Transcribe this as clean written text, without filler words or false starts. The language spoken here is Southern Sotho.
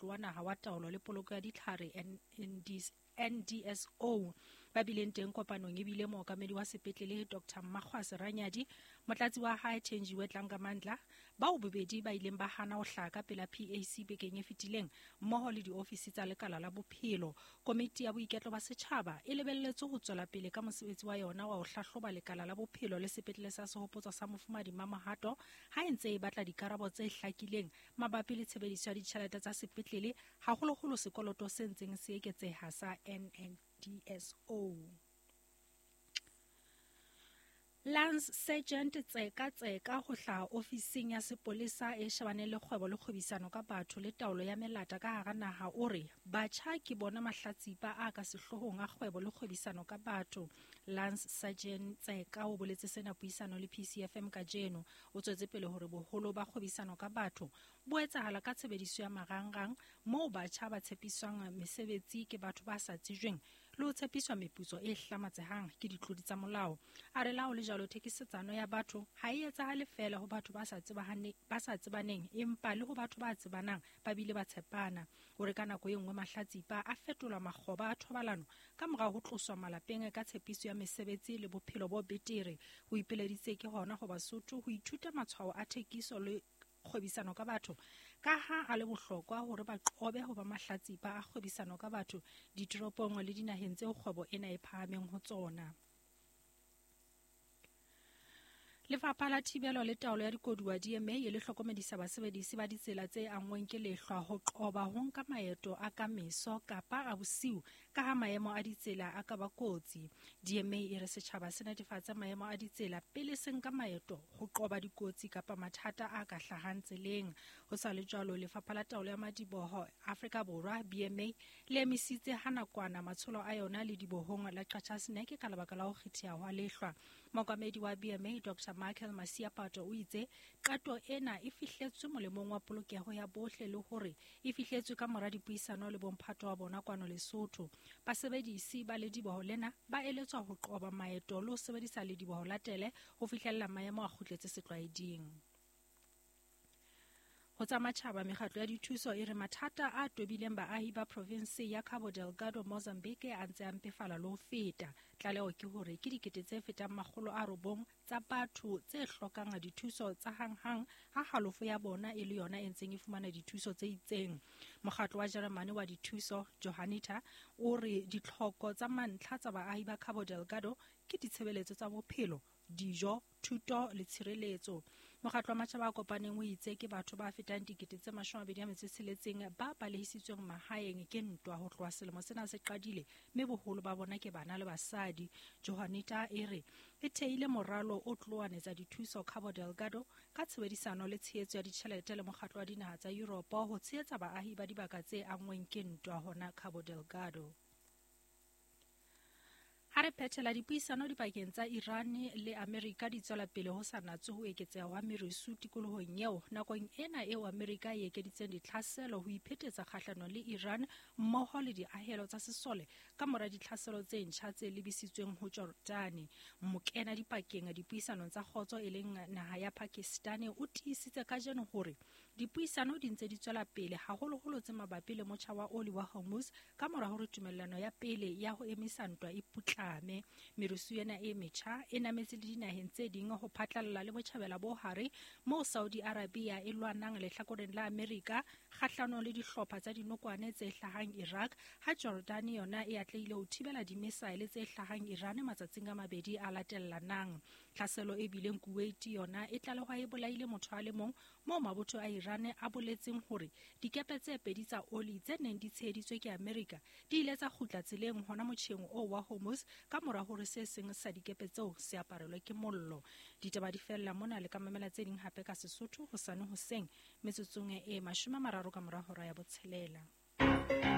Mokgatlo wa Naha wa Taolo le Poloko ya Ditlhare NDSO. Ba bileng teng kopanong e bile mookamedi wa sepetlele Dr. Mmakgwase Ranyadi, motlatsi wa hae Thenjiwe Tlangamandla, bao bobedi ba ileng ba hana ho hlaha ka pela PAC bekeng e fetileng mmoho le diofisi tsa lekala la bophelo. Komiti ya boiketlo ba setjhaba e lebelletswe ho tswela pele ka mosebetsi wa yona wa ho hlahloba lekala la bophelo le sepetlele sa Sehopotso sa Mofumadi Mamohato ha e ntse e batla dikarabo tse hlakileng mabapi le tshebediso ya ditjhelete tsa sepetlele, haholoholo sekoloto se ntseng se eketseha sa NNDSO. Lance Sergeant Tseka Tseka ho hlaha ofising ya sepolesa e shebaneng le kgwebo le kgwebisano ka batho le taolo ya melata ka hara naha o re batjha ke bona mahlatsipa a ka sehloohong a kgwebo le kgwebisano ka batho. Lance Sergeant Tseka o boletse sena puisano le PCFM kajeno. O tswetse pele hore boholo ba kgwebisano ka batho bo etsahala ka tshebediso ya marangrang moo batjha ba tshepiswang mesebetsi ke batho ba sa tsejweng le ho tshepiswa meputso e hlamatsehang ke ditlodi tsa molao. A re la ho le jwalo thekisetsano ya batho ha e etsahale feela ho batho ba sa tsebaneng empa le ho batho ba tsebanang ba bile ba tshepana. O re ka nako e nngwe mahlatsipa a fetolwa makgoba a thobalano ka mora ho tloswa malapeng ka tshepiso ya mesebetsi le bophelo bo betere. Ho ipeleditse ke hona ho Basotho ho ithuta matshwao a thekiso le kgwebisano ka batho ka ha a le bohlokwa hore ba qobe ho ba mahlatsipa a kgwebisano ka batho ditoropong le dinaheng tseo kgwebo ena e phahameng ho tsona. Lefapha la Thibelo le Taolo ya Dikoduwa DMA e le hlokomedisa basebedisi ba ditsela tse anngweng ke lehlwa ho qoba ho nka maeto a ka meso kapa a bosiu ka ha maemo a ditsela a ka ba kotsi. DMA e re setjhaba se netefatse maemo a ditsela pele se nka maeto ho qoba dikotsi kapa mathata a ka hlahang tseleng. Ho sa le jwalo, Lefapha la Taolo ya Madiboho Afrika Borwa BMA le emisitse ha nakwana matsholo a yona le dibohong la Qacha's Nek ka lebaka la ho kgetheha hwa lehlwa. Mookamedi wa BMA Dr. Michael Masiapato o itse qeto ena e fihletswe molemong wa polokeho ya bohle le hore e fihletswe ka mora dipuisano le bomphato wa bona kwano Lesotho. Basebedisi ba lediboho lena ba eletswa ho qoba maeto le ho sebedisa lediboho la tele ho fihlella maemo a kgutletse setlwaeding. Ho tsa matjhaba, mekgatlo ya dithuso e re mathata a tobileng baahi ba provinse ya Cabo Delgado, Mozambique a ntse a mpefala le ho feta. Tlaleho ke hore ke dikete tse fetang 900 tsa batho tse hlokang dithuso tsa hanghang ha halofo ya bona e le yona e ntseng e fumana dithuso tse itseng. Mokgatlo wa Jeremane wa dithuso, Johanniter, o re ditlhoko tsa mantlha tsa baahi ba Cabo Delgado ke ditshebeletso tsa bophelo, dijo, thuto le tshireletso. Mokgatlo wa Matjhaba a Kopaneng o itse ke batho ba fetang 26,000 ba balehisitsweng mahaeng ke ntwa ho tloha selemo sena se qadile, mme boholo ba bona ke bana le basadi. Johanniter e re e theile moralo o tloanetsa dithuso Cabo Delgado ka tshebedisano le tshehetso ya ditjhelete le mokgatlo wa dinaha tsa Europe ho tshehetsa baahi ba dibaka tse anngweng ke ntwa hona Cabo Delgado. Ha re phethela dipuisano dipakeng tsa Iran le Amerika di tswela pele ho sa natswe ho eketseha hwa merusu tikolohong eo nakong ena eo Amerika e ekeditseng ditlhaselo ho iphetetsa kgahlanong le Iran mmoho le diahelo tsa sesole ka mora ditlhaselo tse ntjha tse lebisitsweng ho Jordani. Mokena dipakeng dipuisanong tsa kgotso e leng naha ya Pakistani o tiisitse kajeno hore dipuisano di ntse di tswela pele haholoholo tse mabapi le motjha wa oli wa Hormuz ka mora hore tumellano ya pele ya ho emisa ntwa e putlame. Merusu ena e metjha e nametse le dinaheng tse ding ho phatlalla le botjhabela bo hare moo Saudi Arabia e lwanang lehlakoreng la Amerika kgahlanong le dihlopha tsa dinokwane tse hlahang Iraq, ha Jordan yona e atlehile ho thibela dimisaele tse hlahang Iran matsatsing a mabedi a latellanang. Tlhaselo e bileng Kuwait yona e tlalehwa e bolaile motho a le mong moo mabotho a Iran a boletseng hore dikepe tse pedi tsa oli tse neng di tsheheditswe ke Amerika di ile tsa kgutla tseleng hona motjheng oo wa Hormuz ka mora hore se seng sa dikepe tseo se aparelwe ke mollo. Ditaba di fella mona, le ka mamela tse ding hape ka Sesotho hosane hoseng metsotsong e 30 ka mora hora ya 6.